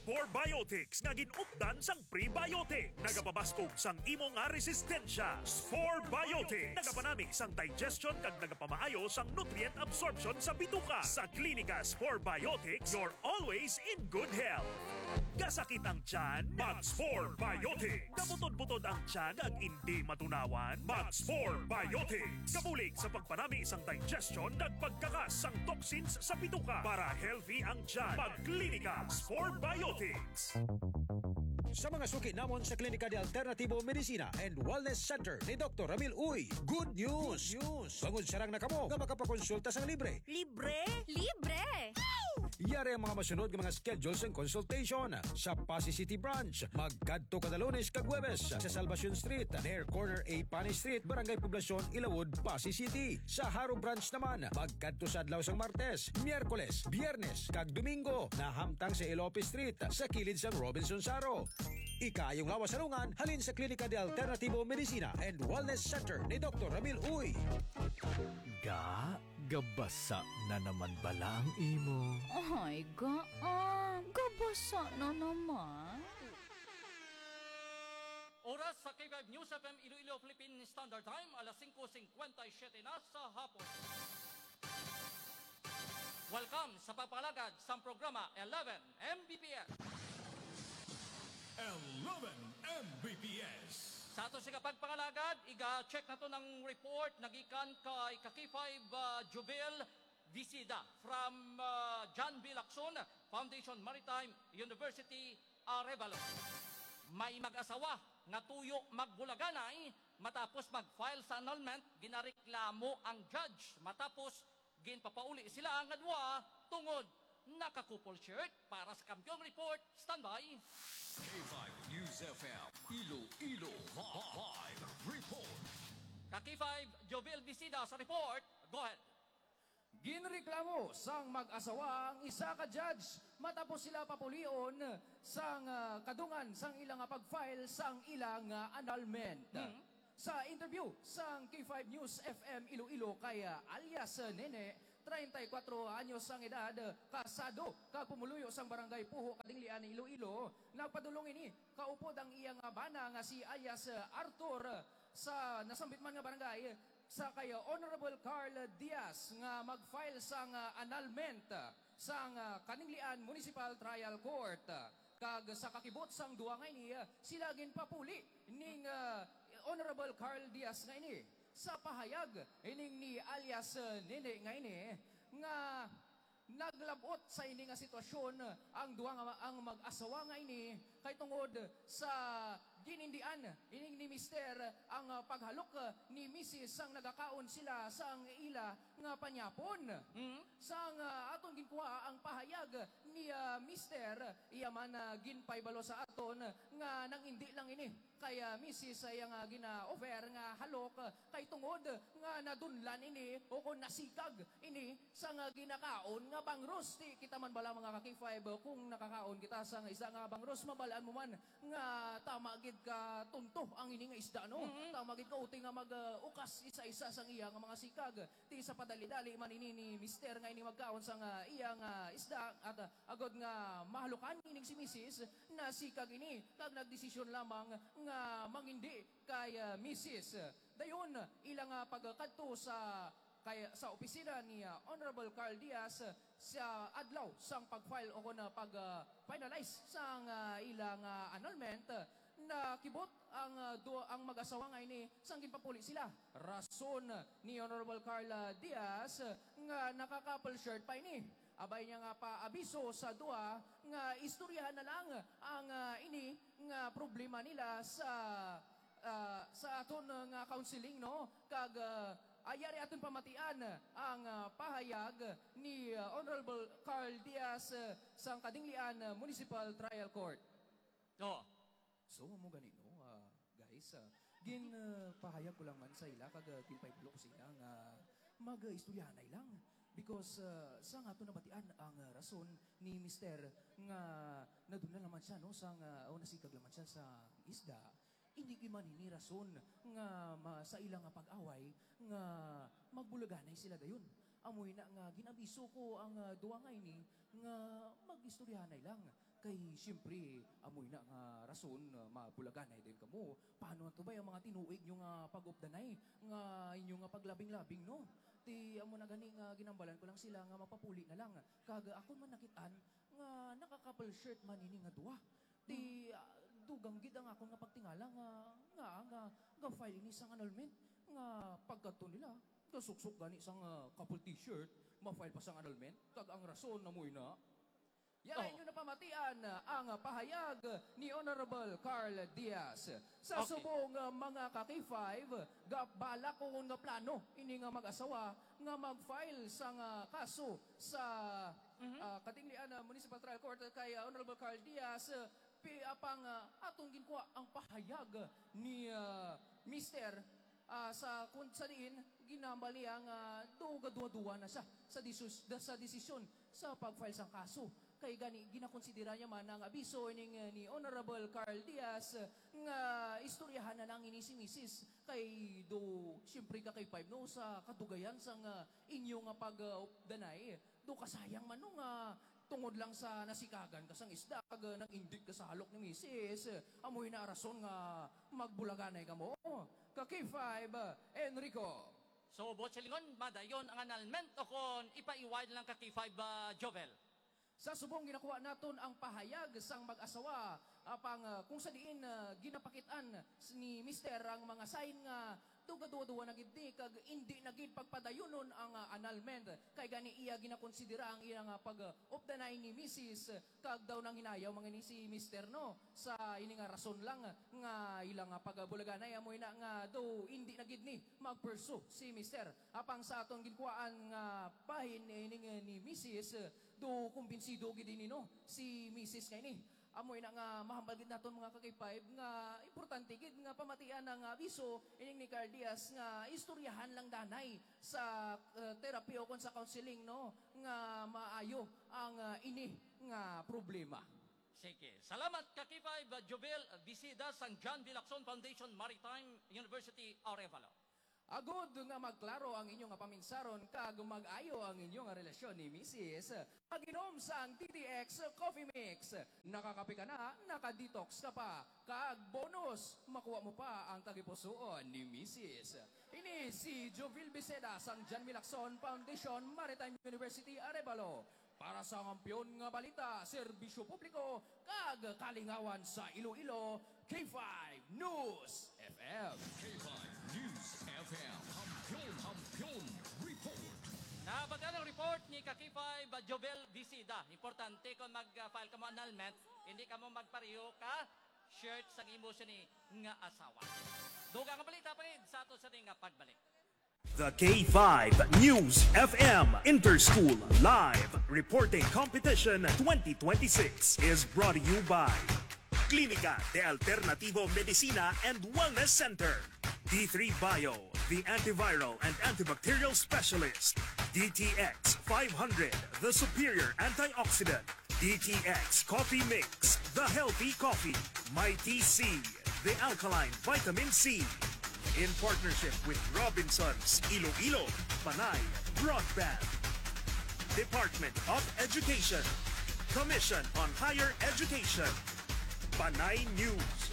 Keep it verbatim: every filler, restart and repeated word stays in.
Spore Biotics nga gin-updan sang prebiotic. Nagapabaskog sang imo nga resistensya. Spore Biotics. Nagapanami sang digestion kag nagapamaayo sang nutrient absorption sa bituka. Sa Klinika Spore Biotics, you're always in good health. Kasakit ang tiyan? Mag-Spore Biotics. Kabutod-butod ang tiyan kag indi matunawan? Mag-Spore Biotics. Kabulig sa pagpanami sang digestion kag pagkakas sang toxins sa bituka. Para healthy ang tiyan, mag-Klinika Spore Biotics. Sa mga suki namon sa Klinika de Alternativo Medicina and Wellness Center ni Doktor Ramil Uy, good news! Good news! Bangod sarang na kamo nga makapakonsulta sang libre. Libre! Libre! Yari ang mga masunod nga mga schedule sang consultation. Sa Passi City Branch, magkadto kada Lunes kag Huwebes sa Salvacion Street, near corner A Pani Street, Barangay Poblacion, Ilawod, Passi City. Sa Jaro Branch naman, magkadto sa adlaw sang Martes, Miyerkules, Biyernes, kag Domingo, nahamtang sa Elope Street, sa kilid sang Robinson Jaro. Ikaayong lawas sa lungan halin sa Klinika de Alternativo Medicina and Wellness Center ni Doktor Ramil Uy. Ga, gabasa na naman bala ang imo? Ay, ga, ah, gabasa na naman. Oras sa K five News F M Iloilo Philippine Standard Time, alas singko singkwenta y siyete na sa hapon. Welcome sa pagpangalagad sang programa eleven M B P S. Eleven M B P S. Sa ato sing pagpangalagad, iga-check naton ang report nagikan kay ka K five, ah, Jovil Visida from, ah, John B. Lacson Foundation Maritime University, Arevalo. May mag-asawa nga tuyo magbulaganay matapos mag-file sa annulment, ginareklamo ang judge matapos ginpapauli sila nga duha tungod naka-couple shirt. Para sa Kampiyon Report, standby. K five News F M, Iloilo Live Report. Ka K five, Jovil Visida sa report. Go ahead. Ginreklamo sang mag-asawa ang isa ka judge matapos sila papulion sang, ah, kadungan sang ila nga pag-file sang ila nga annulment. Hmm. Sa interview sang K five News F M Iloilo kay, ah, alias Nene, treinta y cuatro anyos ang edad, kasado kag pumuluyo sang Barangay Puho, Kadinglian, Iloilo, nagpadulong ini kaupod ang iya nga bana nga si alias Arthur sa nasambit man nga barangay sa kay Honorable Carl Diaz nga mag-file sang, ah, annulment sang, ah, Kadinglian Municipal Trial Court. Kag sa kakibot sang duha nga ini, sila ginpapuli ning, ah, Honorable Carl Diaz nga ini. Sa pahayag ining ni alias, ah, Nene nga ini, nga naglab-ot sa ini nga sitwasyon ang duha nga ma-, ang mag-asawa nga ini, kay tungod sa ginindian ining ni Mister ang, ah, paghalok, ah, ni Misis sang nagakaon sila sang ila nga panyapon. Mm. Sang, ah, aton ginkuha ang pahayag ni, ah, Mister, iya man, ah, ginpahibalo sa aton nga nangindi lang ini kay, ah, misis sa iya nga gina-offer nga halok, ah, kay tungod nga nadunlan ini o kon nasikag ini sa nga ginakaon nga bangros. Di kita man bala, mga ka-K five, kung nakakaon kita sa nga isda nga bangros, mabalaan mo man nga tama gid ka tunto ang ini nga isda, no? Mm-hmm. Tama gid ka uti nga mag, ah, ukas isa-isa sang iya nga mga sikag. Ti sa padali-dali man ini ni Mister nga ini magkaon sang, ah, iya nga isda, at, ah, agod nga mahalukan ining si Misis, nasikag ini kag nagdesisyon lamang nga mangindi kay, ah, Misis. Dayon, ila nga pagkadto sa kay, sa opisina ni, ah, Honorable Carl Diaz, ah, sa adlaw sang pag-file o kon, ah, pag, ah, finalize sang, ah, ila nga annulment, ah, nakibot ang, ah, du-, ang mag-asawa nga ini sang ginpapuli sila. Rason ni Honorable Carl Diaz nga naka-couple shirt pa ini. Abay niya nga paabiso sa duha nga istoryahan na lang ang, ah, ini nga problema nila sa, ah, sa aton nga counseling, no? Kag, ah, ayari aton pamatian ang, ah, pahayag ni, ah, Honorable Carl Diaz, ah, sang Kadinglian, ah, Municipal Trial Court. Oh. So, amo gani, no, ah, guys, ah, gin, ah, pahayag ko lang man sa ila kag, ah, ginpahibalo ko sa ila nga mag-istoryahanay lang. Because, ah, sa nga aton nabatian ang, ah, rason ni Mister nga nadunlan naman siya, no, sa nga, o nasikag naman siya sa isda, hindi gid man ini rason nga ma-, sa ila nga pag-away nga magbulaganay sila dayon. Amo ina nga gin-abiso ko ang, ah, duha nga ini nga mag-istoryahanay lang. Kay siyempre, amoy na nga rason, ah, mabulaganay din kamo. Paano to ba ang mga tinuig nyo nga pag-updanay, nga inyo nga paglabing-labing, no? Ti amo na gani nga ginambalan ko lang sila nga mapapuli na lang. Kag akon man nakit-an nga naka-couple shirt man ini nga duha. Ti, ah, dugang gid ang akon nga pagtingala nga, nga, nga, nga file ini sang annulment. Nga pagkadto nila, gasuksok gani sang, ah, couple t-shirt, ma-file pa sang annulment. Kag ang rason na mo ina. Yan Oh. ang inyo napamatian, ang pahayag ni Honorable Carl Diaz. Sa Okay. subong, uh, mga ka-K five, ga-, balak ko nga plano ini nga mag-asawa nga mag-file sang, uh, kaso sa, Mhm. uh, Katinlian, uh, Municipal Trial Court kay, uh, Honorable Carl Diaz, uh, pi-, apang, uh, atong ginkuha ang pahayag ni, uh, Mister ah, sa kun sa diin ginambal niya nga dugaduwa-duwa na siya sa disus-, da-, sa desisyon sa pag-file sang kaso. Kay gani, ginakonsidera niya man ang abiso ining, eh, ni Honorable Carl Diaz nga istoryahan na lang ini si misis. Kay do, siyempre ka kay five, no, sa kadugayan sang, ah, inyo nga pag, ah, updanay. Do kasayang man, no, nga tungod lang sa nasikagan ka sang isda, kag, ah, nag-indi ka sa halok ni misis, amo ina rason nga magbulaganay kamo. Ka K five, Enrico. So, Boss Silingon, madayon ang annulment o kon ipaiway lang ka K five, ah, Jovel? Sa subong ginakuha naton ang pahayag sang mag-asawa, apang, ah, kung sa diin, ah, ginapakit-an s-, ni Mister ang mga sign nga dugaduwa-duwa na gid ni kag indi na gid pagpadayunon ang, ah, annulment. Kay gani iya ginakonsidera ang iya nga pag-updanay ni Misis, kag daw nanghinayaw man gani si Mister, no, sa ini nga rason lang nga ila nga pagabulaganay, amo ina nga daw indi na gid ni mag-pursue si Mister. Apang sa aton ginkuhaan nga bahin ining ni Misis, do kumbinsido gid ini, no, si Misis nga ini. Amo ina nga mahambal gid naton, mga ka-K five, nga importante gid nga pamatian ang abiso ining ni Carl Diaz nga istoryahan lang danay sa, uh, therapy o kon sa counseling, no, nga maayo ang, uh, ini nga problema. Sige. Salamat ka K five, uh, Jovel Visida sang John Vilacson Foundation Maritime University, Arevalo. Agod nga magklaro ang inyo nga paminsaron kag mag-ayo ang inyo nga relasyon ni Misis, mag-inom sang D T X Coffee Mix. Nakakape ka na, naka-detox ka pa, kag bonus, makuha mo pa ang tagipusoon ni Misis. Ini si Jovil Biseda sang John Milacson Foundation, Maritime University, Arevalo. Para sa kampiyon nga balita, serbisyo publiko, kag kalingawan sa Iloilo, K five News F M. K five News F M. Kampiyon, kampiyon report. Nabag-an ang report ni ka K five, Jovel Visida. Importante kung mag-file ka mo annulment, hindi ka mo magpareho ka shirt sang imo sini nga asawa. Dugang nga balita pa gid sa ato sini nga pagbalik. The K five News F M Interschool Live Reporting Competition twenty twenty-six is brought to you by Clínica de Alternativo Medicina and Wellness Center, D three Bio, the antiviral and antibacterial specialist, D T X five hundred, the superior antioxidant, D T X Coffee Mix, the healthy coffee, Mighty C, the alkaline vitamin C. In partnership with Robinsons Iloilo, Panay Broadband, Department of Education, Commission on Higher Education, Panay News,